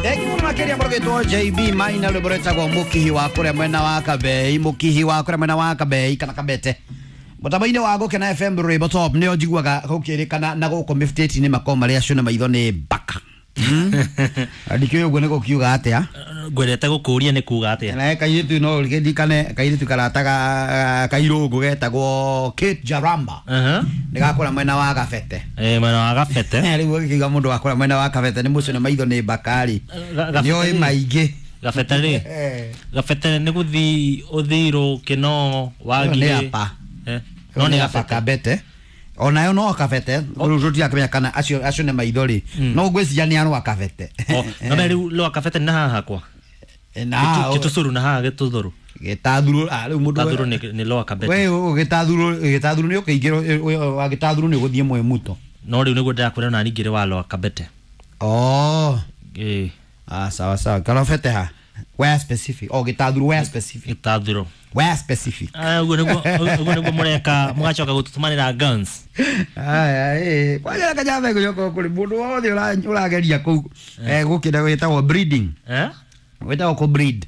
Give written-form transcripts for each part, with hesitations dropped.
Thengi muno makiria mũrũgĩtwo JB Maina, rwĩmbo rwĩtagwo Mũkihi wa kũrĩa mwena wa Kabei, Mũkihi wa kũrĩa mwena wa Kabei kana Kabete. Mũtambo-inĩ wa Gũkena FM, rwĩmbo top nĩo njiguaga gũkĩrĩkana na gũkũ mĩbutĩti-inĩ makorwo marĩa acio na maitho nĩ mbaka. Ndikĩũĩ ũguo nĩ gũkiuga atĩa. Ngwendete gũkũria nĩ kuga atĩa. Na kairĩtu no ndikane kairĩtu karataga kairũngũ getagwo Kate Jaramba. Nĩ gakũra mwena wa Gabete. Eh, mwena wa Gabete. Rĩu ũgĩkiuga mũndũ wakũra mwena wa Kabete nĩ mũcio na maitho nĩ mbakari. Nĩoĩ maingĩ. Gabete rĩ, Gabete nĩ gũthi ũthirũ kĩno wangirĩ. Nĩ apa. No nĩ apa Gabete. Kabete. Onayo no Kabete, rĩu tũtirakĩmenya kana acio acio nĩ maitho rĩ. No ngwĩciria nĩ arwa Kabete. No rĩu rwa Kabete nĩ haha hakwa. Na Gĩtũcũrũ na haha gĩtũthũrũ. Gĩtathurũ, rĩu mũndũ Gĩtathurũ nĩ rwa Kabete. We gĩtathurũ, gĩtathurũ nĩ ũkĩingĩra wa gĩtathurũ nĩ ũgũthiĩ Mwĩmuto. No rĩu nĩguo ndĩrakwĩra ona ningĩ wa rwa Kabete. Oh. Ĩĩ. Ah, sawa sawa. Karobete ha? Where specific? Oh, gĩtathurũ where specific? Gĩtathurũ. Where specific? Ũguo nĩguo, ũguo nĩguo mũreka mũgacoka gũtũtũmanĩra guns. Aya, ĩ, kwanja kajambe gũcoka kũrĩ mũndũ wothe ũrageria kũu gũkĩenda gwĩtagwo breeding. Eh? Gwĩtagwo kũ breed.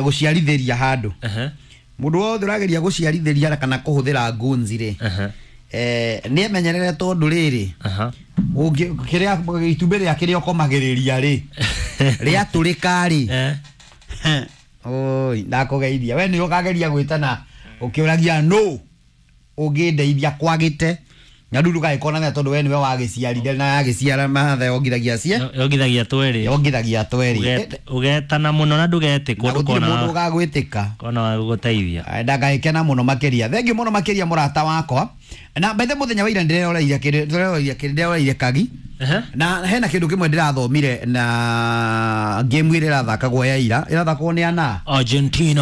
Gũciarithĩria handũ. Mũndũ wothe ũrageria gũciarithĩria kana kũhũthĩra guns rĩ. Nĩ emenyerere tondũ rĩrĩ. Kĩrĩa itumbĩ rĩa kĩrĩa ũkomagĩrĩria rĩ. Rĩatũrĩka rĩ. Oi, ndakũgeithia. We nĩ ũkageria gwĩtana ũkĩũragia no ũngĩndeithia kwagĩte. Na rĩu ndũgagĩkonania tondũ we nĩwe wagĩciarire na yagĩciara matha yongithagia cie. Yongithagia twerĩ. Yongithagia twerĩ. Ũgetana mũno na ndũgetĩkwo. Na gũtirĩ mũndũ ũgagwĩtĩka. Kona wa gũgũteithia. Ndangagĩkena mũno makĩria. Thengiũ mũno makĩria mũrata wakwa. Na bethe mũthenya wa ira ndĩreroreire kĩndũ, ndĩreroreire kĩndũ, ndĩreroreire kagi. Na hena kĩndũ kĩmwe ndĩrathomire na game ĩrĩa ĩrathakagwo ya ira, ĩrathakagwo nĩ ana Argentina.